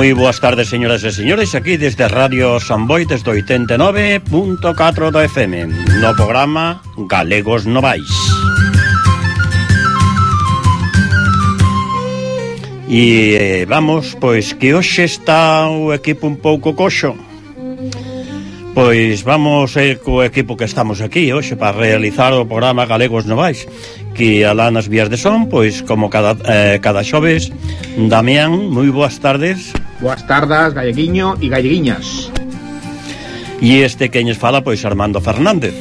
Moi boas tardes, señoras e señores, aquí desde Radio Samboy, desde 89.4 do FM, no programa Galegos Novais. E vamos, pois, que hoxe está o equipo un pouco coxo. Pois vamos a ir co equipo que estamos aquí hoxe para realizar o programa Galegos Novais, que alá nas vías de son, pois como cada xoves. Damián, moi boas tardes. Boas tardes, galleguiño e galleguiñas. E este queñes fala, pois Armando Fernández.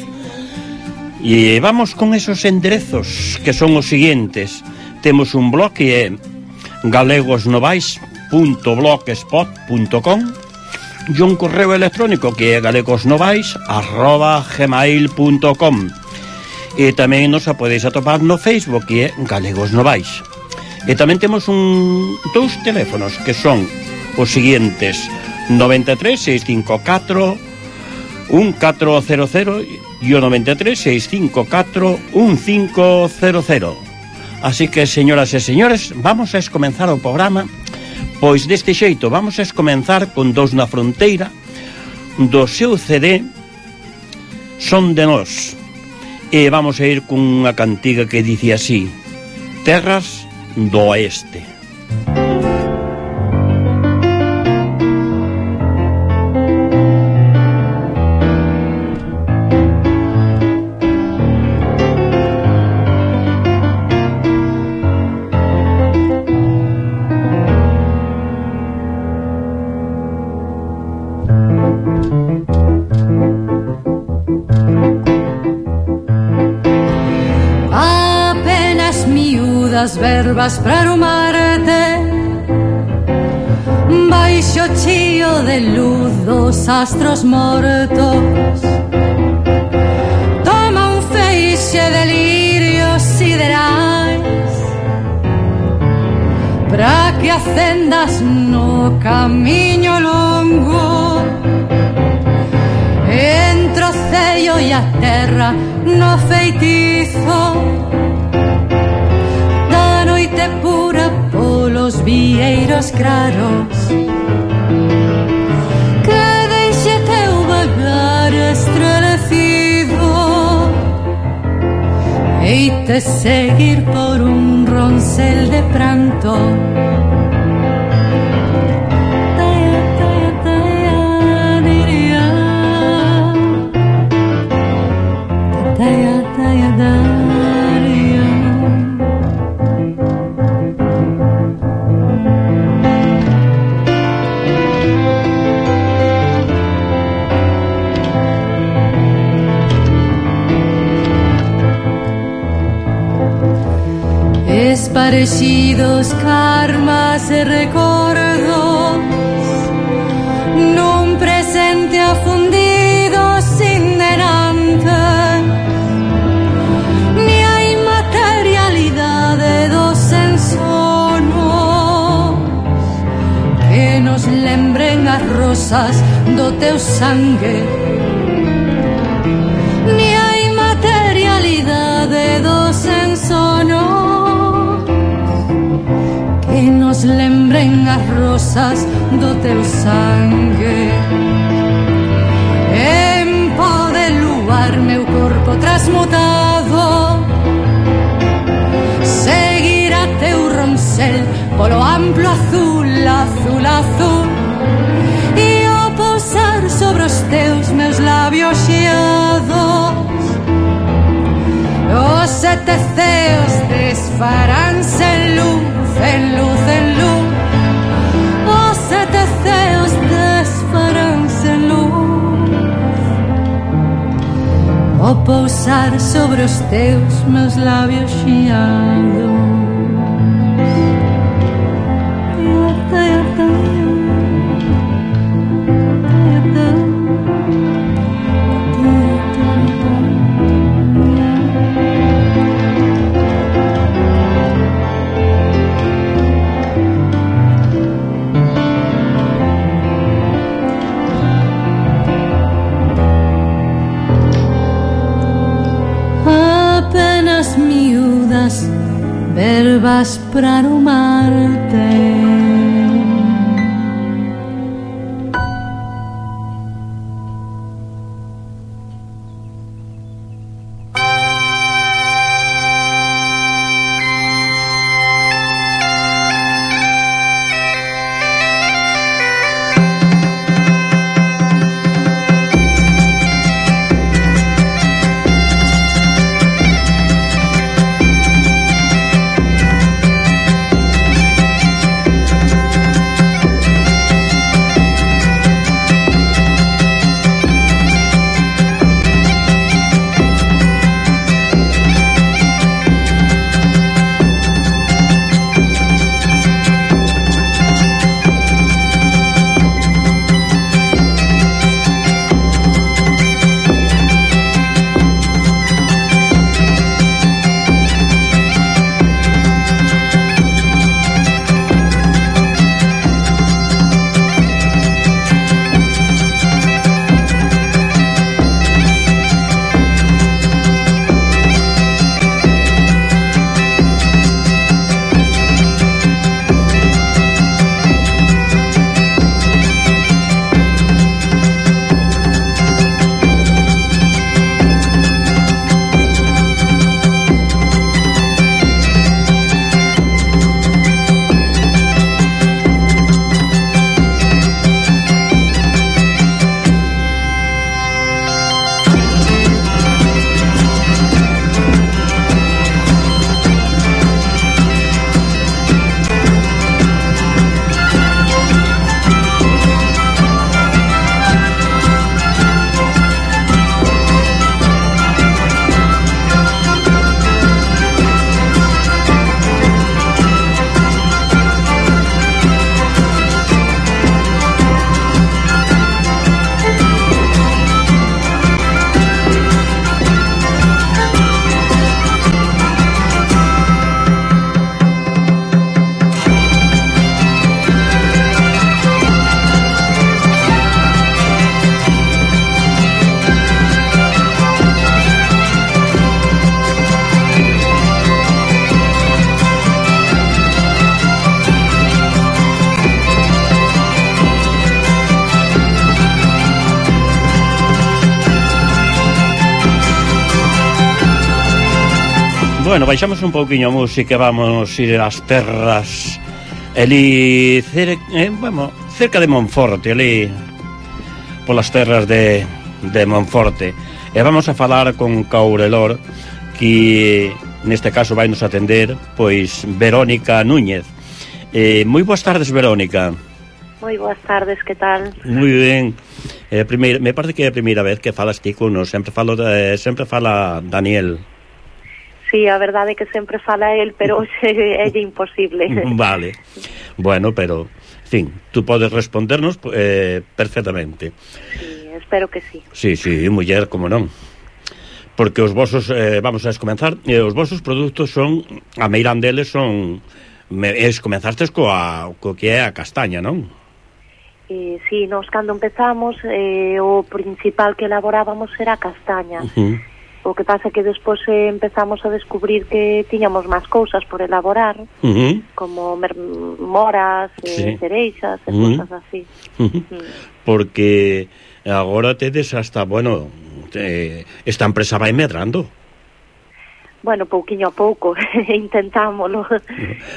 E vamos con esos enderezos que son os seguintes. Temos un blog que é galegosnovais.blogspot.com e un correo electrónico que é galegosnovais@gmail.com. E tamén nos podeis atopar no Facebook, que é Galegos Novais. E tamén temos dous teléfonos que son os seguintes: 93 654 1400 e o 93 654 1500. Así que, señoras e señores, vamos a comenzar o programa. Pois deste xeito, vamos a comenzar con Dous na Fronteira, do seu CD Son de Nós. E vamos a ir con unha cantiga que dice así: Terras do Oeste. Verbas para armarte baixo chío de luz dos astros mortos. Toma un feixe de lirios siderais para que acendas no camiño longo, entre o cello e a terra no feitizo pura polos vieiros claros, que deixe teu vagar estrelecido e te seguir por un ronsel de pranto. Parecidos karmas e recordos nun presente afundido sin delante, ni hai materialidade dos ensonos que nos lembren as rosas do teu sangue, ni hai materialidade dos ensonos que nos lembren as rosas do teu sangue. En pó de luar meu corpo transmutado seguirá teu ronsel polo amplo azul, azul, azul, e ao pousar sobre os teus meus labios xeados os sete ceos desfaránse en luz, en luz, en luz. Os sete ceos desfaránse en luz ao pousar sobre os teus meus labios xeados. verbas para arrumarte. Bueno, baixamos un pouquiño a música, vamos ir ás terras ali cerca de Monforte, ali polas terras de Monforte. E vamos a falar con Caurelor, que neste caso vai nos atender pois Verónica Núñez. Moi boas tardes, Verónica. Moi boas tardes, que tal? Moi ben. Me parece que é a primeira vez que falas ti con nos. Sempre fala Daniel. Sí, a verdade é que sempre fala el, pero hoxe é imposible. Vale. Bueno, pero, en fin, tú podes respondernos perfectamente. Sí, espero que sí. Sí, muller, como non. Porque os vosos, vamos a comenzar, os vosos produtos son, a meirán deles son, comenzastes co que é a castaña, non? Sí, nos cando empezamos, o principal que elaborábamos era a castaña. O que pasa é que despois empezamos a descubrir que tiñamos máis cousas por elaborar, como moras, cereixas e cousas así. Porque agora tedes hasta, bueno, esta empresa vai medrando. Bueno, pouquiño a pouco, intentámoslo.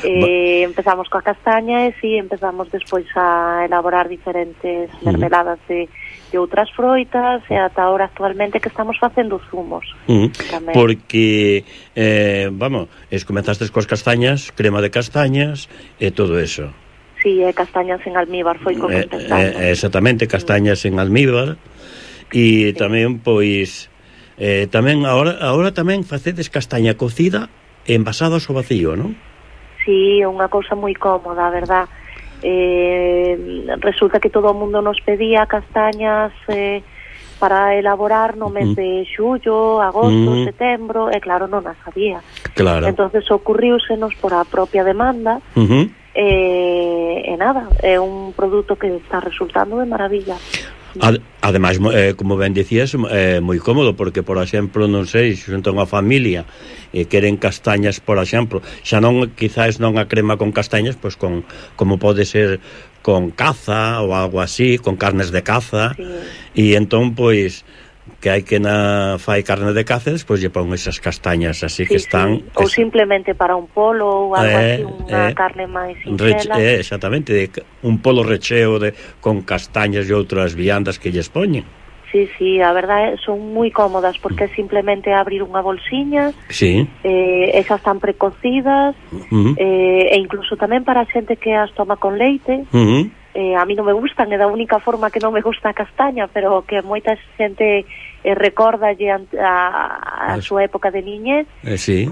Empezamos coa castaña e si empezamos despois a elaborar diferentes mermeladas de outras froitas e ata ahora actualmente que estamos facendo zumos. Porque, comenzastes coas castañas, crema de castañas e todo eso. Sí, castañas en almíbar foi como empezamos. Exactamente, castañas en almíbar e tamén, pois... tamén agora tamén facedes castaña cocida e envasados ao vacío, non? Sí, unha cousa moi cómoda, a verdad. Resulta que todo o mundo nos pedía castañas para elaborar no mes de xullo, agosto, setembro, e claro, non as había. Claro. Entonces ocurriúsenos por a propia demanda, e nada, é un produto que está resultando de maravilla. Ademais, como ben dicías, é moi cómodo, porque, por exemplo, non sei, se xunta unha familia e queren castañas, por exemplo, xa non, quizás non a crema con castañas, pois como pode ser con caza ou algo así, con carnes de caza, e entón, pois, que hai que fai carne de caza, despois lle pon esas castañas así que están... Ou simplemente para un polo ou algo así, unha carne máis sinxela. Exactamente, un polo recheo con castañas e outras viandas que lles poñen. Sí, a verdade son moi cómodas, porque é simplemente abrir unha bolsiña, esas están precocidas, e incluso tamén para a xente que as toma con leite. A mí non me gustan, é da única forma que non me gusta a castaña, pero que moita xente recordalle a súa época de niñez,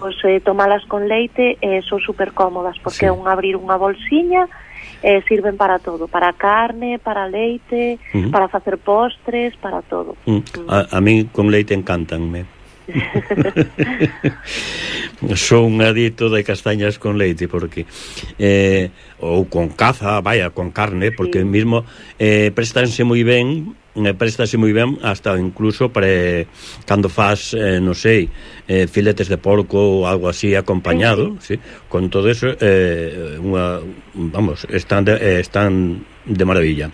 pois tomalas con leite son super cómodas, porque é un abrir unha bolsiña, sirven para todo, para carne, para leite, para facer postres, para todo. A mí con leite encantanme. Son un adicto de castañas con leite, porque ou con caza, con carne, porque mismo préstanse moi ben hasta incluso cando faz, non sei, filetes de porco ou algo así acompañado, con todo eso, están de maravilla.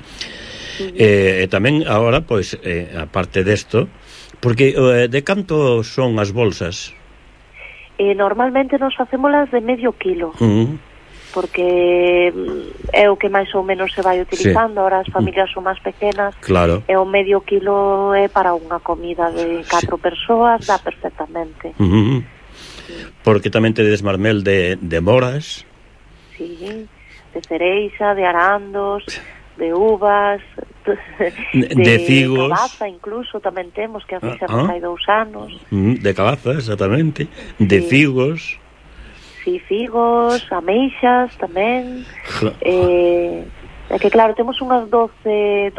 E tamén agora, pois, aparte desto, porque de canto son as bolsas? Normalmente nos facémolas de medio kilo, porque é o que máis ou menos se vai utilizando. Ahora as familias son máis pequenas, e o medio kilo é para unha comida de 4 persoas, dá perfectamente. Porque tamén tedes marmel de moras, de cereixa, de arandos, de uvas, de figos, cabaza incluso tamén temos, que a fixamos hai 2 anos. De cabaza, exactamente, de figos. Figos, ameixas tamén. É que claro, temos unhas 12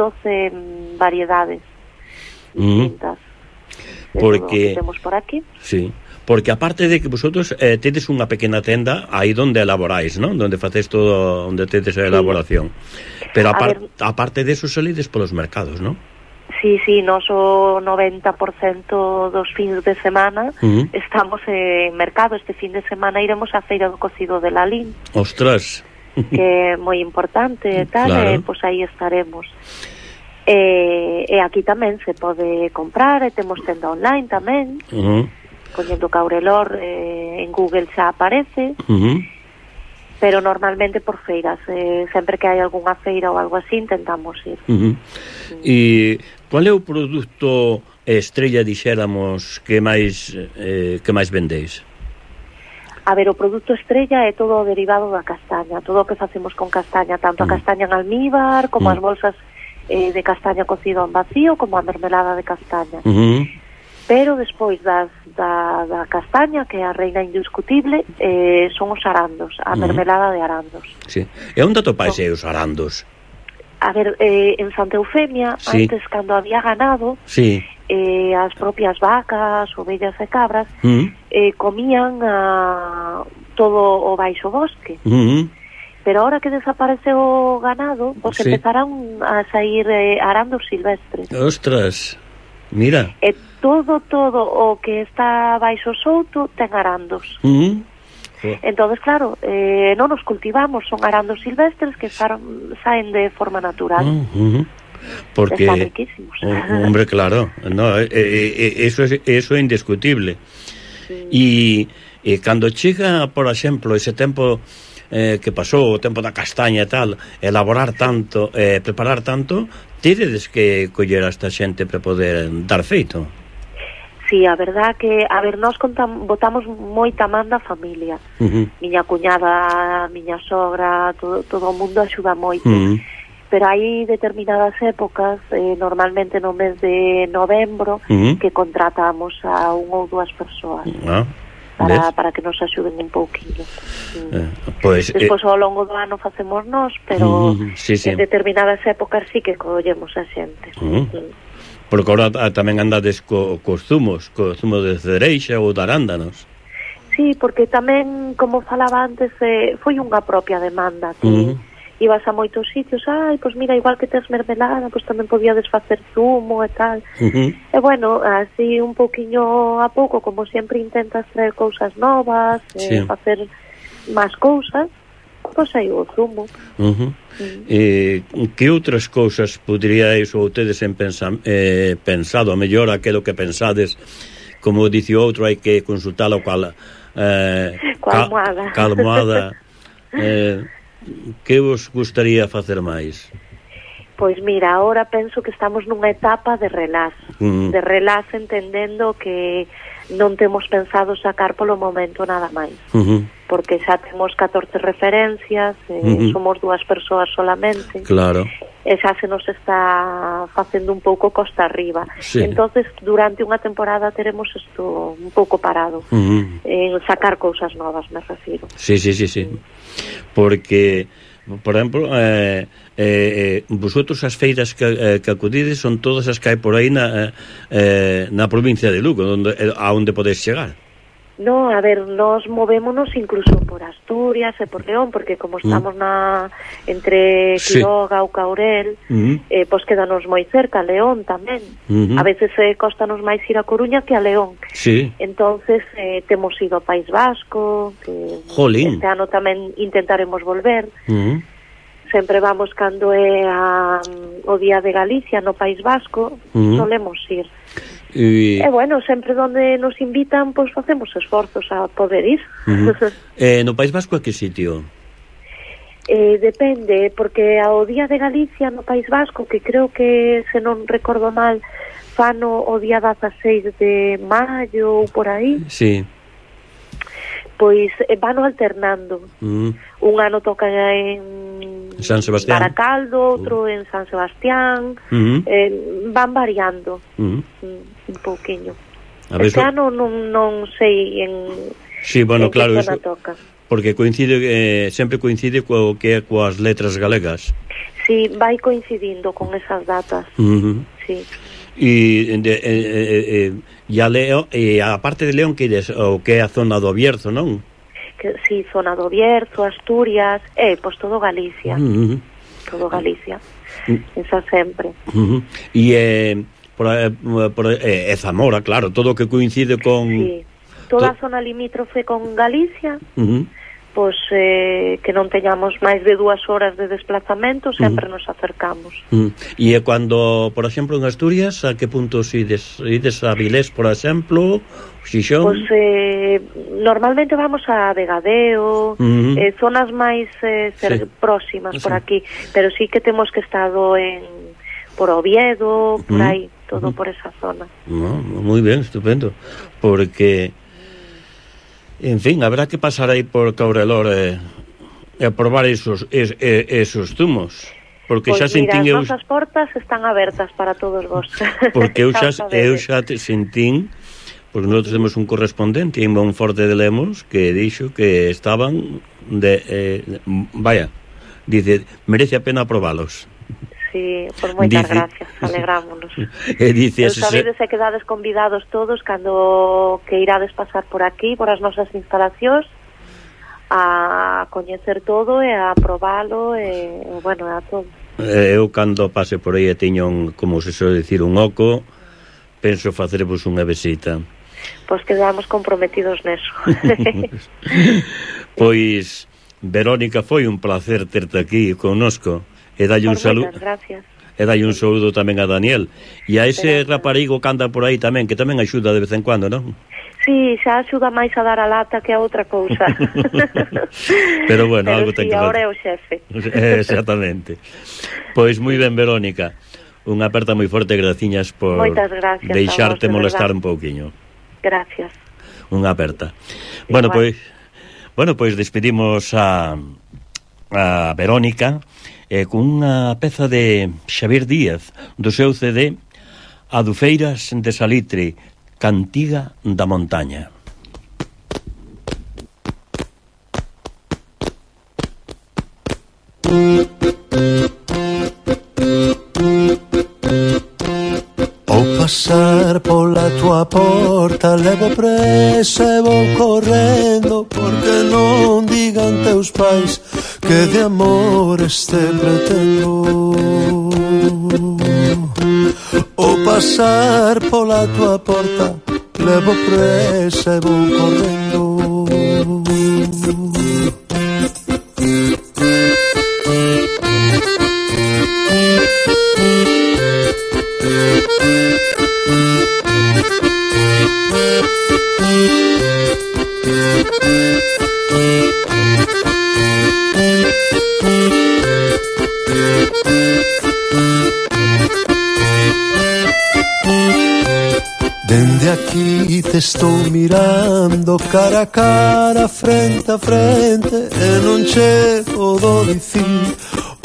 variedades distintas. Porque que temos por aquí. Porque aparte de que vosotros tedes unha pequena tenda aí donde elaboráis, non? Donde facéis todo, onde tedes a elaboración. Pero aparte de eso salides polos mercados, non? Sí, nos o 90% dos fins de semana estamos en mercado. Este fin de semana iremos á Feira do Cocido de Lalín. Ostras! Que é moi importante e tal, pois aí estaremos. E aquí tamén se pode comprar, e temos tenda online tamén. poñendo Caurelor, en Google xa aparece, pero normalmente por feiras, sempre que hai algunha feira ou algo así intentamos ir. E qual é o produto estrella, dixéramos, que máis vendéis? A ver, o produto estrella é todo o derivado da castaña, todo o que facemos con castaña, tanto a castaña en almíbar, como as bolsas de castaña cocido en vacío, como a mermelada de castaña. Pero despois da castaña, que é a reina indiscutible, son os arandos, a mermelada de arandos. Sí. E onde atopais os arandos? A ver, en Santa Eufemia, antes, cando había ganado, as propias vacas, ovellas e cabras, comían todo o baixo bosque. Pero ahora que desapareceu o ganado, pues empezaron a sair arandos silvestres. Ostras, mira. E todo o que está baixo souto ten arandos. Entonces, claro, non os cultivamos, son arandos silvestres que saen de forma natural. Porque están riquísimos. Hombre, claro, no, eso é indiscutible. E cando chega, por exemplo, ese tempo que pasou, o tempo da castaña e tal, elaborar tanto, preparar tanto, teredes que coller a esta xente para poder dar feito. Sí, a verdad que, a ver, nós botamos moita man da familia. Miña cuñada, miña sogra, todo o mundo axuda moito. Pero hai determinadas épocas, normalmente no mes de novembro, que contratamos a un ou dúas persoas para que nos axuden un pouquinho. Despois ao longo do ano facemos nós, pero en determinadas épocas sí que collemos a xente. Porque agora tamén andades cos zumos, co zumo de cereixa ou de arándanos. Sí, porque tamén, como falaba antes, foi unha propia demanda que ibas a moitos sitios, pois mira, igual que tes mermelada, pois tamén podíades facer zumo e tal. E bueno, así un pouquiño a pouco, como sempre intentas traer cousas novas, facer máis cousas, pois aí o zumo. Que outras cousas poderíais ou tedes pensado, a mellor aquilo que pensades, como dice o outro, hai que consultalo coa almohada. Que vos gustaría facer máis? Pois mira, ahora penso que estamos nunha etapa de relax, entendendo que non temos pensado sacar polo momento nada máis, porque xa temos 14 referencias, somos dúas persoas solamente, e xa se nos está facendo un pouco costa arriba. Entonces, durante unha temporada teremos isto un pouco parado, en sacar cousas novas, me refiro. Sí. Porque, por exemplo, vosotros as feiras que acudides son todas as que hai por aí na provincia de Lugo, a onde podes chegar. No, a ver, nos movémonos incluso por Asturias e por León, porque como estamos entre Quiroga ou Caurel, pois quedanos moi cerca, León tamén. A veces costanos máis ir a Coruña que a León. Entonces temos ido ao País Vasco, que este ano tamén intentaremos volver. Sempre vamos cando é o Día de Galicia no País Vasco, solemos ir. E bueno, sempre onde nos invitan, pois facemos esforzos a poder ir. No País Vasco a que sitio? Depende, porque ao Día de Galicia no País Vasco, que creo que, se non recordo mal, fano o día 16 de maio ou por aí, pois vano alternando. Un ano toca en San Sebastián, Baracaldo, outro en San Sebastián, van variando un pouquiño. Este ano non sei en que zona toca. Porque sempre coincide coas letras galegas. Sí, vai coincidindo con esas datas. E a León, e a parte de León, que é a zona do Bierzo, non? Sí, zona do Bierzo, Asturias, pois todo Galicia. Todo Galicia. Esa sempre. E Zamora, claro, todo o que coincide con... Sí, toda a zona limítrofe con Galicia, pois que non teñamos máis de 2 horas de desplazamento, sempre nos acercamos. E cando, por exemplo, en Asturias, a que puntos ides a Vilés, por exemplo, Xixón? Pois normalmente vamos a Vegadeo, zonas máis próximas por aquí, pero sí que temos que estado por Oviedo, por aí, todo por esa zona. Moi ben, estupendo, porque en fin, habrá que pasar aí por Caurelor e probar esos zumos, porque pois xa sentín mira, as nosas portas están abertas para todos vos. Porque eu xa sentín, porque nosotros temos un correspondente en Monforte de Lemos que dixo que estaban vaya, dice, merece a pena probalos. Sí, por moitas gracias, alegrámonos. Dice, sabedes e quedades convidados todos cando que irades pasar por aquí, por as nosas instalacións, a coñecer todo e a probalo e bueno, a todo. Eu cando pase por aí e teño como se suele dicir, un oco, penso facervos unha visita. Pois quedamos comprometidos neso. Pois, Verónica, foi un placer terte aquí connosco. E dalle un saludo. E dalle un saludo tamén a Daniel. E a ese raparigo que anda por aí tamén, que tamén axuda de vez en cuando, non? Sí, xa axuda máis a dar a lata que a outra cousa. Pero bueno, algo ten que ver. Ahora é o xefe. Exactamente. Pois moi ben, Verónica. Unha aperta moi forte, graciñas por deixarte molestar un pouquiño. Gracias. Unha aperta. Bueno, pois despedimos a Verónica con unha peza de Xavier Díaz do seu CD Adufeiras de Salitre, Cantiga da Montaña. Ao pasar pola tua porta levo presa e vou correndo, porque non digan teus pais que de amores te pretendo. Ao pasar pola tua porta levo presa e vou correndo. Dende aquí te estou mirando cara a cara, frente a frente, e non che podo dicir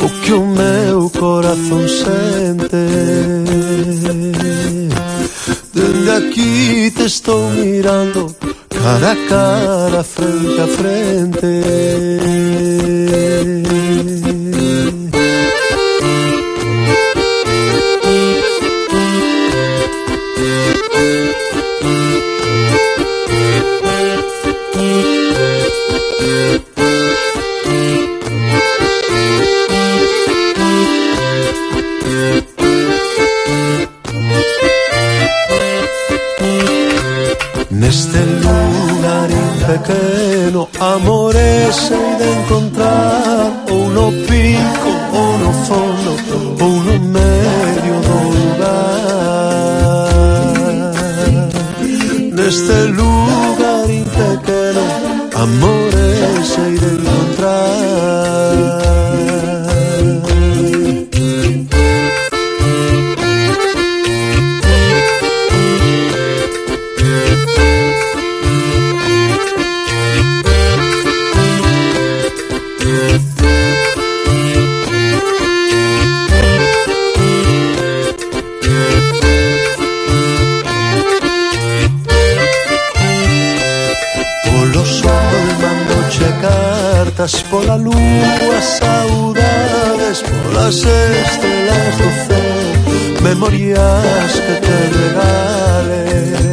o que o meu corazón sente. Dende aquí te estou mirando cara a cara, frente a frente. Neste lugar pequeno, amores hei de encontrar, ou no pico, ou no fondo, ou no medio do lugar. Neste lugar pequeno, amores hei de encontrar. Pola lúa, saudades, polas estrelas do céu, memorias que te regale.